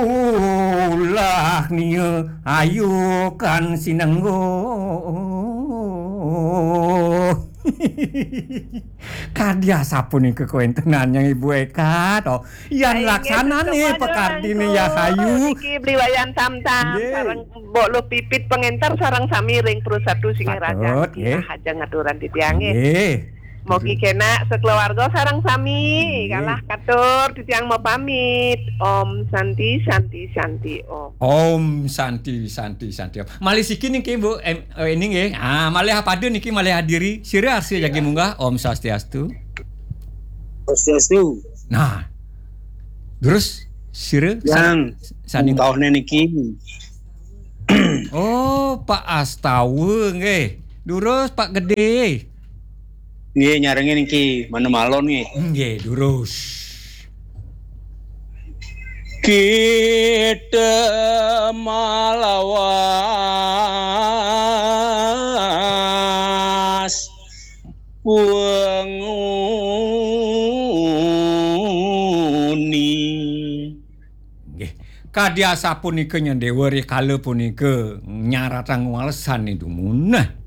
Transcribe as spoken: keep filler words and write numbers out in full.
Ulah nia ayu kan sinenggo. Kadi asapunika kawéntenannya Ibu Eka to. Yan laksanane pakardine ya hayu. Niki Bli Wayan Samsam sareng Mbok Luh Pipit pengenter sareng sami ring Purusatu Singaraja. Patut, nggih. Nah, aja ngaturan titiang nggih. Nggih. Mogi kenak sekeluarga sareng sami. Nggih. Kalah katur titiang mau pamit. Om Santi, Santi, Santi, Om. Om Santi, Santi, Santi, Om. Malih siki niki, Bu, em, eh, ini nggih. Ah, malih apada niki, malih adiri. Sira arsa jagi munggah. Om Swastiastu. Swastiastu. Nah. Terus sira Yang sani kauhne niki. Oh, Pak Astawa nggih. Durus Pak Gede. Nggih, nyarengin niki, mana malon nggih. Nggih, durus. Kita malawas penguni. Nggih. Kadi asapunika nyen Dewa rikala punika nyaratang walesan dumun. Nah,